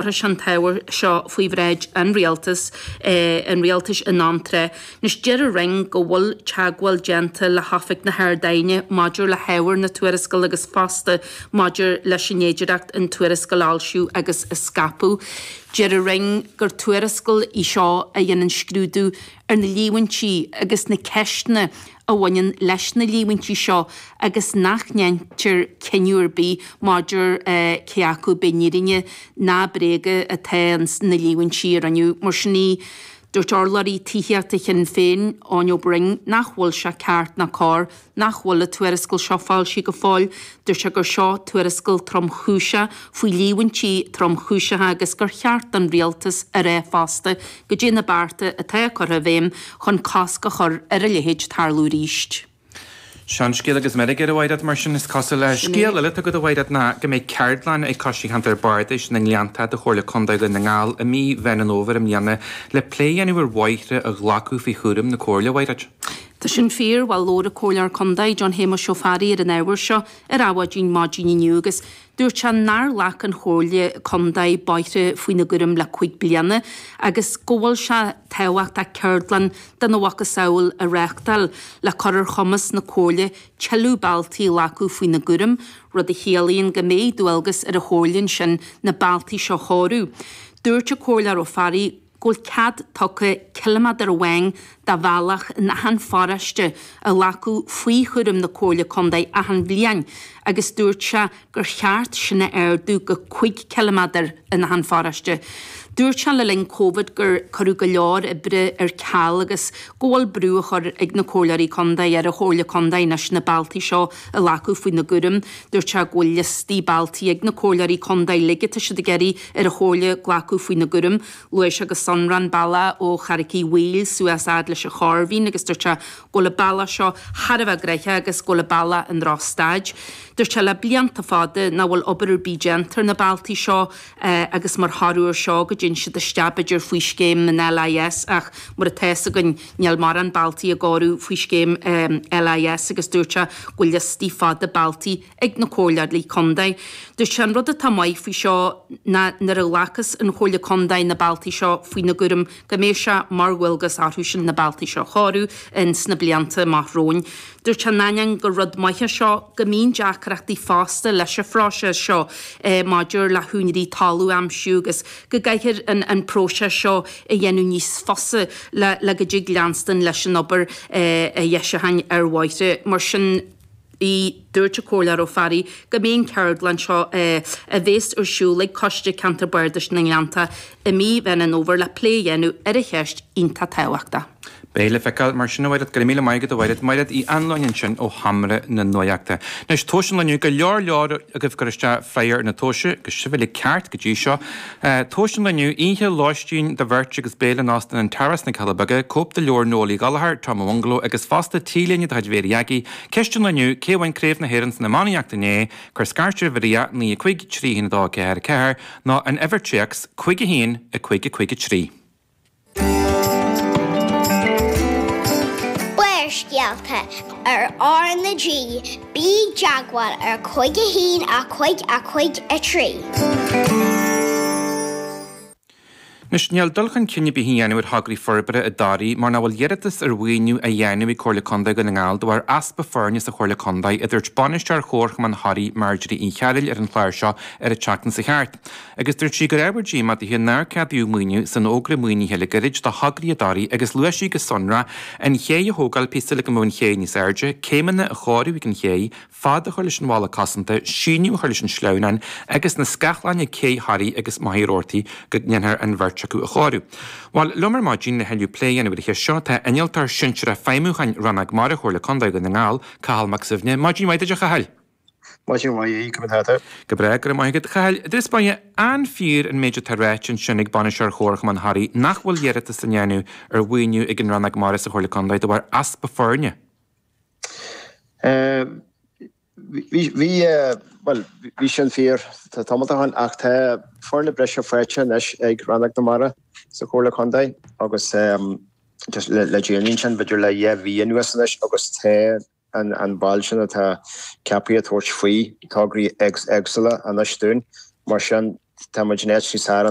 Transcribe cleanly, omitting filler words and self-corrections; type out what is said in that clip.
Cuirfidh sé an t-ábhar seo faoi bhráid an Rialtais an Rialtais in am tráth. Anois deir an Roinn go bhfuil teagmháil déanta le hOifig na hArd-Aighne maidir le hábhar na tuarascála agus fosta maidir leis an fhéidireacht an tuarascáil a fhoilsiú agus a scaipeadh. Deir an Roinn gur tuarascáil í seo a dhéanann scrúdú ar na líomhaintí agus na ceisteanna a bhaineann leis na líomhaintí seo agus nach ndéantar cinneadh ar bith maidir cé acu b'in fhírinne ná bréaga atá ins na líomhaintí a rinneadh. Mar sin í, dúirt urlabhraí tithíochta Shinn Féin, Eoin Ó Broin, nach bhfuil sé ceart ná cóir nach bhfuil an tuarascáil seo foilsithe go fóill. Dúirt sé gur seo tuarascáil tromchúiseach faoi líomhaintí tromchúiseacha agus gur cheart don rialtas a rá fosta goidé na bearta atá curtha i bhfeidhm chun cosc a chur ar a leithéid tarlú arís. Seanscéal agus meirg air, a Mhaighread, mar sin is cosúil. Sin é. Scéal eile atá agat, a Mhaighread, ná go mbeidh ceardlann ag Coiste Cheantar Bardais na nGleanntach de Chomhairle Contae Dhún na nGall i mí Mheán an Fhómhair i mbliana le plé a dhéanamh ar bhóithre a ghlacadh faoi chúram na Comhairle, a Mhaighread. Tá sin fíor. Bhuel, labhair an Comhairleoir Contae, John Shéamuis Ó Fearraigh ar an ábhar seo ar Adhmhaidin maidin inniu agus Dúirt sé nár ghlac an Chomhairle Contae bóithre faoina gcúram le 5 bliana agus go bhfuil sé tábhachtach ceardlann dena mhacasamhail a reáchtáil le cur ar chumas na Comhairle tuilleadh bealtaí a ghlacadh faoina gcúram, rud a chiallaíonn go mbeidh dualgas ar an Chomhairle ansin na bealtaí seo a chóiriú. Dúirt an Comhairleoir Ó Fearraigh go bhfuil cead tugtha ciliméadar amháin de bhealach in achan pharóiste a ghlacadh faoi chúram na Comhairle Contae achan bhliain agus dúirt sé gur cheart sin a ardú go 5 ciliméadar in achan pharóiste. Dúirt sé le linn Covid gur cuireadh go leor oibre ar ceal agus go bhfuil brú á chur ag na Comhairleoirí Contae ar an Chomhairle Contae anois na bealtaí seo a ghlacadh faoina gcúram. Dúirt sé go bhfuil liostaí bealtaí ag na Comhairleoirí Contae uilig atá siad ag iarraidh ar an Chomhairle glacadh faoina gcúram. Luaigh sé go sonrach an bealach ó Charraic Uí Bhaoill suas fhad leis an Chorr Mhín agus dúirt sé go bhfuil an bealach seo thar a bheith gnoitheach agus go bhfuil an bealach i ndrochstaid. Dúirt sé le blianta fada nach bhfuil obair ar bith déanta ar na bealtaí seo agus mar thoradh ar seo go dtéann siad isteach b'fhéidir faoi scéim an LIS ach mar atá fhios againn níl mórán bealtaí á gcóiriú faoi scéim LIS agus dúirt sé go bhfuil liostaí fada bealtaí ag na Comhairleoirí Contae. Dúirt sé an rud atá maith faoi seo ná nuair a ghlacas an Chomhairle Contae na bealtaí seo faoina gcúram go mbeidh sé mar dhualgas orthu sin na bealtaí seo a chóiriú ins na blianta amach romhainn. Dúirt sé in ainneoin gur rud maith é seo go mbíonn deacrachtaí fosta leis an phróiseas seo maidir le húinéirí talamh a aimsiú agus go gcaithfear an próiseas seo a dhéanamh níos fusa le go dtig leanstan leis an obair dheisiúcháin ar bhóithre. Mar sin. ii, Dúirt an Comhairleoir Ó Fearraigh go mbeidh an ceardlann seo a bhéas ar siúl ag Coiste Ceantar Bardais na nGleanntach i mí Mheán an Fhómhair le plé a dhéanamh ar an cheist iontach tábhachtach. Beidh le feiceáil mar sin, a Mhaighread. Go raibh míle maith agat, a Mhaighread. Maighread Uí Anluain ansin ó Sheomra na Nuachta. Anois, tomhais an lae inniu, go leor leor agaibh ag cur isteach freagra ar na tomhaise, agus sibh uilig ceart go dtí seo. Tomhais an lae inniu, oíche lóistín do bheirt agus béile in Óstán an Tara sna Cealla Beaga, cóip de leabhar Noel Uí Ghallchóir, Tom ó Bhungaló, agus fosta T-léine de chuid Mhéirí Aggie, Ceist an lae inniu, cé a bhain Craobh na hÉireann san iománaíocht inné? Cuir scairt ar uimhir 9 5 3 1 2 4 4 nó an uimhir téacs 5 1 5 5 3. Barrscéalta ar R na G, bí i dteagmháil ar 5 1 5 5 3. Anois, níl dul chun cinn ar bith á dhéanamh ar thograí forbartha i dToraigh mar nach bhfuil iarratas ar mhaoiniú á dhéanamh ag Comhairle Contae Dhún na nGall de bharr easpa foirne sa Chomhairle Contae, a dúirt Bainisteoir Chomharchumann Thoraí, Marjorie Uí Chearúil ar an chlár seo ar an tseachtain seo thart. Agus dúirt sí gur ábhar díomá dithe nár ceadaíodh maoiniú san fhógra maoinithe le gairid do thograí i dToraigh agus luaigh sí go sonrach an ché a thógáil píosa le go mbeadh an ché níos airde, céimeanna a chóiriú ag an ché, fad a chur leis an bhalla cosanta, síneadh a chur leis an sleamhnán agus na scáthláin ag Cé Thoraí agus Machaire Rabhartaigh go ndéanfar an bheirt acu a chóiriú. Bhuel, liom ar maidin le thuilleadh plé a dhéanamh ar an cheist seo tá Innealtóir Sinsearach Feidhmiúcháin Rannóg Mara Chomhairle Contae Dhún na nGall, Cathal Mac Suibhne. Maidin mhaith duit a Chathail. Maidin mhaith, conas atá tú? Go breá, go raibh maith agat. A Chathail, i dtús báire, an fíor an méid atá ráite ansin ag Bainisteoir Chomharchumann Thoraí nach bhfuil iarratas á ndéanamh ar mhaoiniú ag an Rannóg Mara sa Chomhairle Contae de bharr easpa foirne? Bhí, bhí, bhuel, bhí sin fíor tamall ó shin ach tá foirne breise faighte anois ag Rannóg na Mara sa Chomhairle Contae agus just le déanaí ansin, b'fhéidir le dhá mhí anuas anois agus tá an ball sin atá ceaptha ag tabhairt faoi tograí éagsúla anois dúinn. Mar sin. tá muid in áit níos fearr.